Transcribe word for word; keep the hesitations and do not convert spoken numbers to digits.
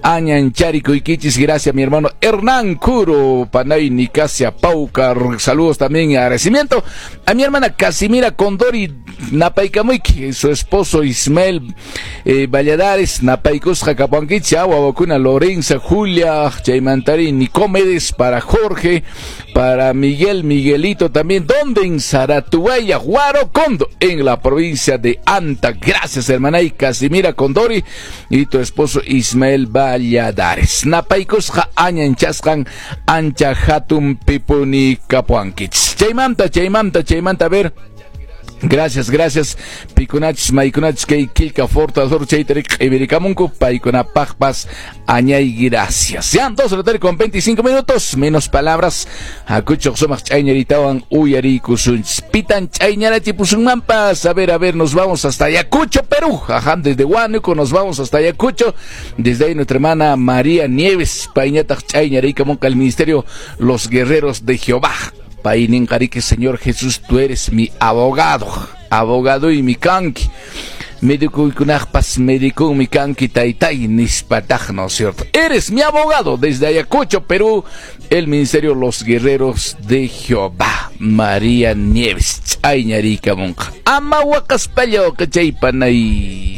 Añancharikuykichis, gracias mi hermano Hernán Curo, Panay Nicasia Paucar, saludos también y agradecimiento a mi hermana Casimira Condori Napaykamuyki, su esposo Ismael eh, Valladares, Napaykusqa kapuwankichis, wawakuna Lorenza, Julia, Chaymantari, Nicomedes, para Jorge, para Miguel, Miguelito también, donde en Saratuaya, Huarocondo, en la provincia de Anta. Gracias, hermana y Casimira Condori y tu esposo Ismael Valladares. Napaykusqa añanchasqan ancha hatun pipuni kapuwankichis. Chaymanta, chaymanta, chaymanta, a ver. Gracias, gracias. Pikunachis, maykunachis, kay kilka fortador chaytarik q'ivirikamunku, paykunapaqpas añay gracias. Sean dos de la tarde con veinticinco minutos, menos palabras. Hakuchuq sumaq ch'ayñaritawan uyariykusunchis. Pitan ch'ayñarachipusunmanpas. A ver, a ver, nos vamos hasta Ayacucho, Perú. Ajá, desde Huánuco nos vamos hasta Ayacucho. Desde ahí nuestra hermana María Nieves, payñataq ch'ayñarikamunqa al ministerio Los Guerreros de Jehová. Payninqariki, Señor Jesús, tú eres mi abogado, abogado y mi kanki. Médico médico mi kanki taytay nispataq, ¿no es cierto? Eres mi abogado desde Ayacucho, Perú, el ministerio Los Guerreros de Jehová. María Nieves, ch'ayñarikamunqa. Ama waqaspalla waqachaypanay.